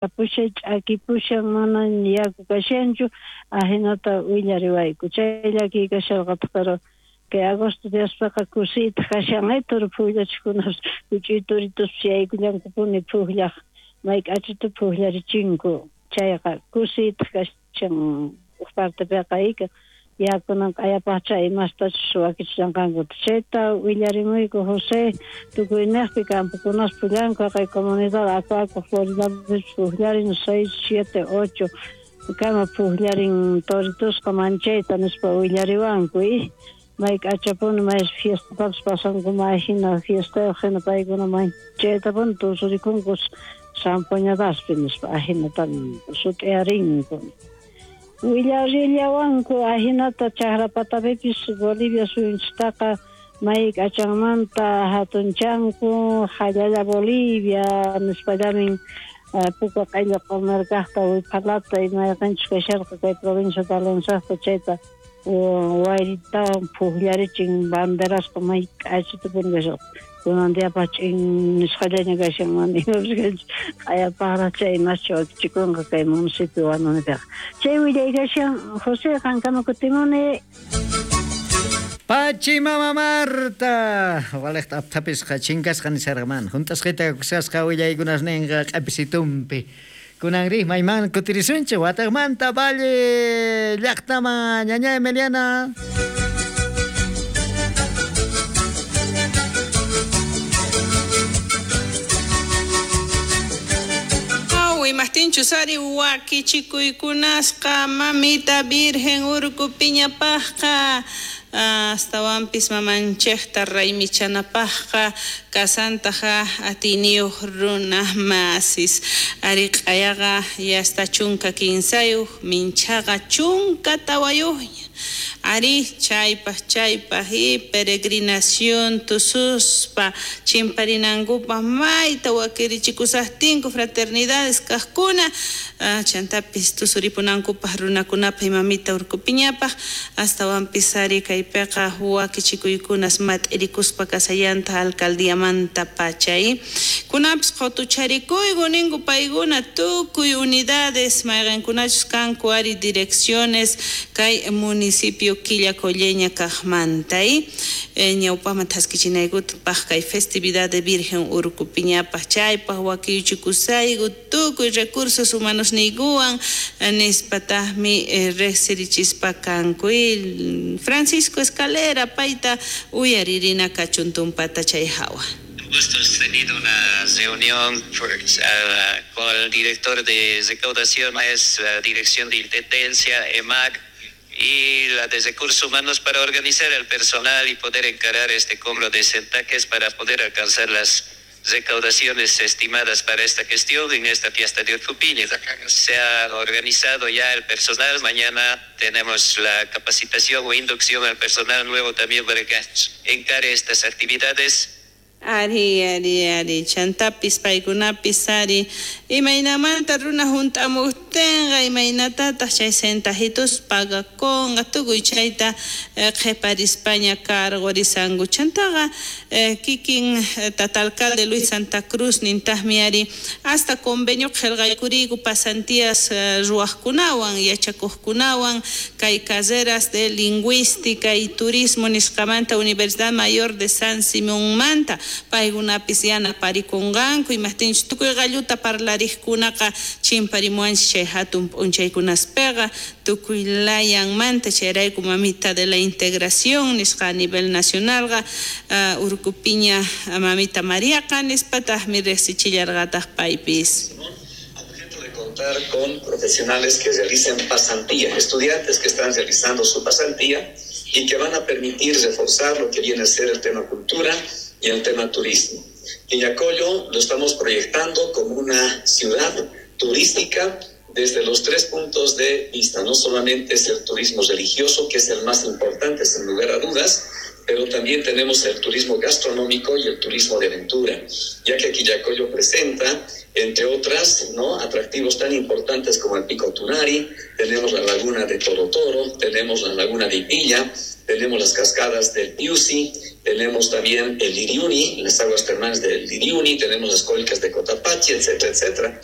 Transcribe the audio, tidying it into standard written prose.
Kapushan, ch'akipushan, mana yaku kashanchu, ajinata willariwayku. Chay llakiy kasharqataq, pero kay agosto diaspeqa kusiytaq kashan, toro pujllachikunas, huch'uy toritos yaykullankupuni pujllaq, may k'achita pujllarichinku. Chayqa kusiytaq kashan uj partepiqa ika yakunan q'ayapaqcha imastachus wakichishanqankuta. Chayta willarimuyku José, tukuyniqpi campokunas pullanku, haqay comunidad Acu Acu Floridapis pujllarin 6, 7, 8 kama pujllarin toritusqa manchayta nispa willariwanku. May k'achapuni may fiestatapis pasanku, may hina fiestayuq hina paykuna manchaytapuni tusurikunku zampoñadaspi nispa ajinatan sut'iyarinku. Willarillawanku ajinata chakra patapipis Bolivia suyunchistaqa may k'achanmanta hatunchanku, jallalla Bolivia nispallamin puka q'ello q'umerkaqta wiphalata imayqinchus kasharqa kay provincia de Alonsojta chayta wayritawan pujllarichin banderasqa may k'achitapuni kasharqa. Kunan diapaq ch'in nisqallaña kashan, mana imapis kanchu, q'ayapaqraq chay imaschu wakichikunqa kay municipio Huanunipiqa. Chay willay kashan, José, qankama kutimuni. Pachi mama Marta, waliqta apthapisqa chinkasqa nisharqa mana hunt'asqita kusasqa willaykunasninqa q'apisitumpi. Kunanri mayman kutirisunchik wataqmanta Valle llaqtaman, ñaña Emiliana. Imajtinchus ari wakichikuykunasqa mamita Virgen Urkupiñapaqqa astawanpis mamanchikta raymichanapaqqa kasantaqa atiyniyuq runa masis ari q'ayaqa yasta 13 minchaqa 14 ari chaypaq chaypaq y peregrinación tususpa chimparinankupaq mayta wakirichikusaqtinku fraternidades kaqkuna chantapis tusuripunankupaq runakunapaq mamita Urkupiñapaq astawanpis ari kaypiqa wakichikuykunas mat'irikuspa kasallanta alcaldiamanta pachay kunapis qutucharikuyku ninku paykuna tukuy unidades mayqinkunachus kanku ari direcciones kay municipio Quillacolleña kaqmanta ñawpaqman thaskichinaykutapaq kay festividad de Virgen Urkupiñapaq chaypaq wakiyuchikusayku tukuy recursos humanos niykuwan nispataqmi riqsirichispa kanku. Francisco Escalera payta uyaririna kachun tumpata chay hawa. Gusto hemos tenido una reunión con el director de recaudación, es la dirección de intendencia, EMAC, y la de recursos humanos para organizar el personal y poder encarar este cobro de centaques para poder alcanzar las recaudaciones estimadas para esta gestión en esta fiesta de Urcupiña. Se ha organizado ya el personal, mañana tenemos la capacitación o inducción al personal nuevo también para que encare estas actividades. Ari, ari, ari, chantapis, paykunapis, ari, imaynamanta runa hunt'amuqtinqa, imaynatataq chay centajitos pagakunqa, tukuy chayta qhiparispaña cargorisanku. Chantaqa kikin tata alcalde Luis Santa Cruz nintaqmi ari, hasta convenio qillqaykuriyku pasantías ruwaqkunawan, yachakuqkunawan, kay carreras de lingüística y turismo nisqamanta Universidad Mayor de San Simonmanta, paykunapis yanaparikunqanku, imajtinchus tukuy qalluta parlariqkunaqa chimparimuwanchik chay hatun p'unchaykunaspiqa tukuy layanmanta, chayrayku mamita de la integración nisqa a nivel nacionalqa Urkupiña mamita Mariaqa nispataqmi riqsichillarqataq paypis. De contar con profesionales que realicen pasantía, estudiantes que están realizando su pasantía y que van a permitir reforzar lo que viene a ser el tema cultura y el tema turismo. Quillacollo lo estamos proyectando como una ciudad turística desde los tres puntos de vista. No solamente es el turismo religioso, que es el más importante, sin lugar a dudas, pero también tenemos el turismo gastronómico y el turismo de aventura, ya que Quillacollo presenta, entre otras, ¿no?, atractivos tan importantes como el Pico Tunari, tenemos la laguna de Toro Toro, tenemos la laguna de Ipilla, tenemos las cascadas del Piusi, tenemos también el Liriuni, las aguas termales del Liriuni, tenemos las cólicas de Cotapachi, etcétera, etcétera.